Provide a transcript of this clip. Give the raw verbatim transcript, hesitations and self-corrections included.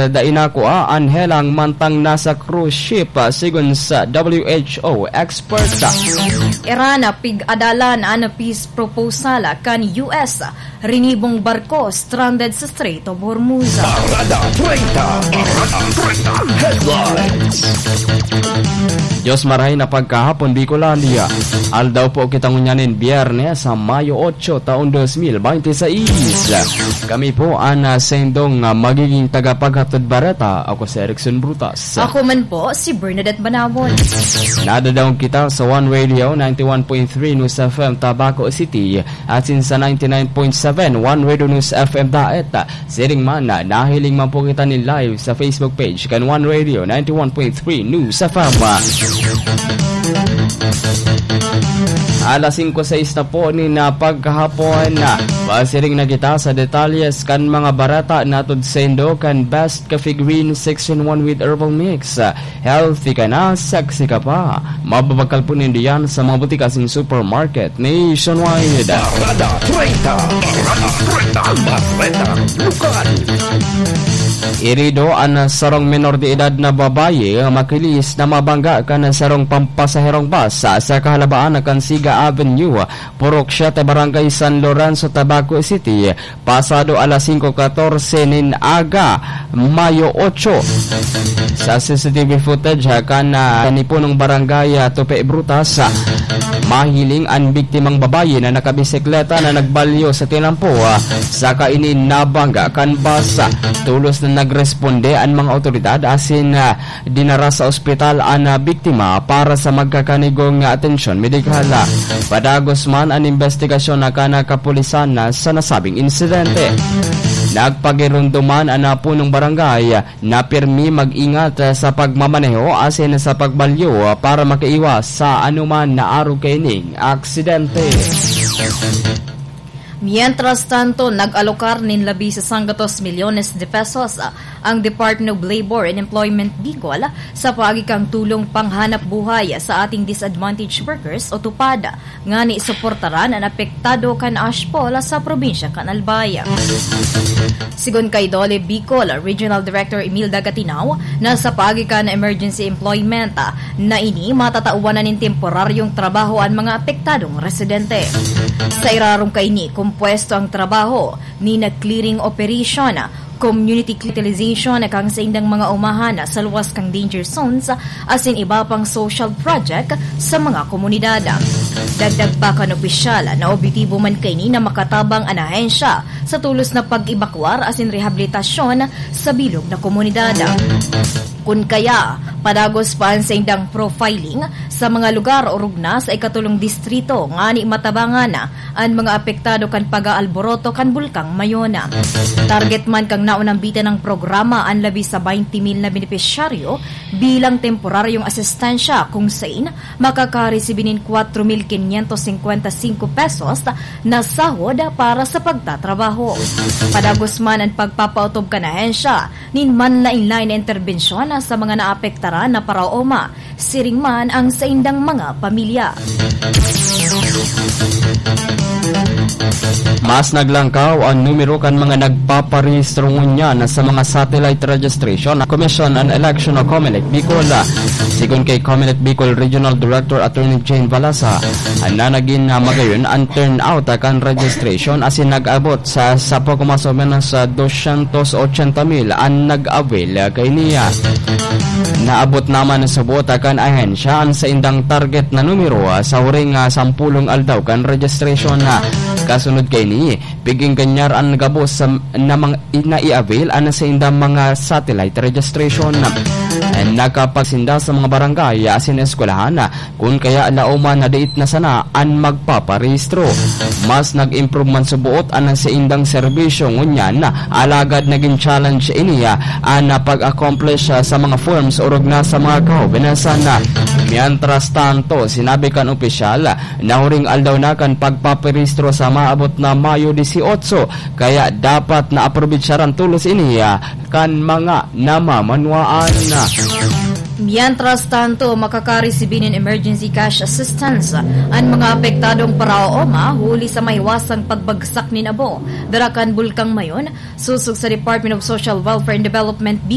dai nakua an helang mantang nasa cruise ship, ah, sigon sa W H O expert. Iran, ah, pig-adalan an peace proposal kan U S. Rinibong barko stranded sa Strait of Hormuz. Parada treinta. Parada treinta. Headlines. Diyos marahay na pagkahapon, Bicolandia. Aldaw po kita ngunyan nin Biyernes, sa Mayo otso, taon dos mil bente seis. Kami po an, ah, sendong, ah, magiging tagapaghatod bareta. Ako si Erickson Brutas. Ako man po, si Bernadette Banawon. Nadadaog kita sa One Radio, ninety-one point three News F M, Tabaco City, asin sa ninety-nine point seven One Radio News F M Daet. Siring man, nahiling man po kita nin live sa Facebook page kan One Radio ninety-one point three News F M. Alas singko sais na po nin, ah, pagkahapon. Pasiring na kita sa detalyes kan mga bareta na hatod saindo kan Best Coffee Green six in one with Herbal Mix. Healthy ka na, sexy ka pa. Mababakal po nindo yan sa mga butika asin supermarket nationwide. Parada treinta. Parada treinta. Bareta Lokal. Herido an sarong menor de edad na babayi, makilis na mabangga kan sarong pampasaherong bus sa kahalabaan kan Siga Avenue, Purok siete, Barangay San Lorenzo, Tabaco City, pasado alas singko katorse nin aga, Mayo otso. Sa C C T V footage, ah, kan, ah, nipunong barangay, ah, Tupe Brutas, ah, mahiling an biktimang babayi na nakabisikleta na nagbalyo sa tinampo, ah, saka ini nabangga kan bus, ah. Tolos na nagresponde an mga awtoridad asin, ah, dinara sa ospital an, ah, biktima para sa magkakanigong atensyon medikal. Padagos man an imbestigasyon na kan kapulisan na sa nasabing insidente. Nagpagirundoman an, ah, punong barangay na pirmi mag-ingat, ah, sa pagmamaneho asin sa pagbalyo, ah, para makaiwas sa anuman na arog kaining aksidente. Mientras tanto, nag-alokar nin labi sa sanggatos milyones de pesos, ah, ang Department of Labor and Employment Bicol sa paagi kan tulong panghanap buhay sa ating disadvantaged workers o TUPAD, ngani suportaran an apektado kan ashfall sa probinsya kan Albay. Sigon kay Dole Bicol Regional Director Emil Dagatinaw, na sa paagi kan emergency employment, ah, na ini, matatawan na nin temporaryong trabaho an mga apektadong residente. Sa irarom kaini, kompuesto ang trabaho ni na clearing operation, community utilization kan saindang mga umahan sa luwas kan danger zones, asin iba pang social project sa mga komunidad. Dagdag pa kan opisyal na objetibo man kaini na makatabang an ahensya sa tolos na pag-ebakwar asin rehabilitasyon sa bilog na komunidad. Kun kaya, padagos pa an saindang profiling sa mga lugar orog na sa ikatolong distrito ngani matabangan an mga apektado kan pag-aalboroto kan Bulkang Mayon. Target man kan naunang bitin nang programa an labi sa baynte mil na benepisyaryo bilang temporaryong asistensya, kung sain makakaresibi nin kwatro mil kinyentos singkwenta singko pesos na sahod para sa pagtatrabaho. Padagos man an pagpapaotob kan ahensya nin manlaen-laen na interbensyon sa mga naapektaran na paraoma, siring man ang saindang mga pamilya. Mas naglangkaw an numero kan mga nagpaparehistro ngunyan sa mga satellite registration na Commission on Election o Comelec Bicol. Sigon kay Comelec Bicol Regional Director Attorney Jane Balasa, na nagin, ah, magayon an turnout kan registration asin nag-abot sa, sa poco mas o menos, ah, dosyentos ochenta mil an nag-avail, ah, kaini. Naabot naman sa buot kan ahensya an saindang target na numero, ah, sa huring, ah, sampulong aldaw kan registration na. Kasunod kaini, piging ganyar an gabos sa, na mga, na i-avail an saindang mga satellite registration. Nakapagsinda sa mga barangay asin eskwelahan, kun kaya laoman na diit na sana an magpaparehistro. Mas nag-improve man suboot an saindang serbisyo ngunyan, alagad nagin challenge ini, an pag-accomplish sa mga forms orog na sa mga kahobenasan. Mientras tanto, sinabi kan opisyal, na huring aldaw na kan pagpaparehistro sa maabot na Mayo dieciocho, kaya dapat na aprobetsaran tolos ini, ah, kan mga namamanwaan. Mientras tanto, makakaresibi nin emergency cash assistance an mga apektadong paraoma huli sa maiwasang pagbagsak nin abo dara kan Bulkang Mayon, sosog sa Department of Social Welfare and Development,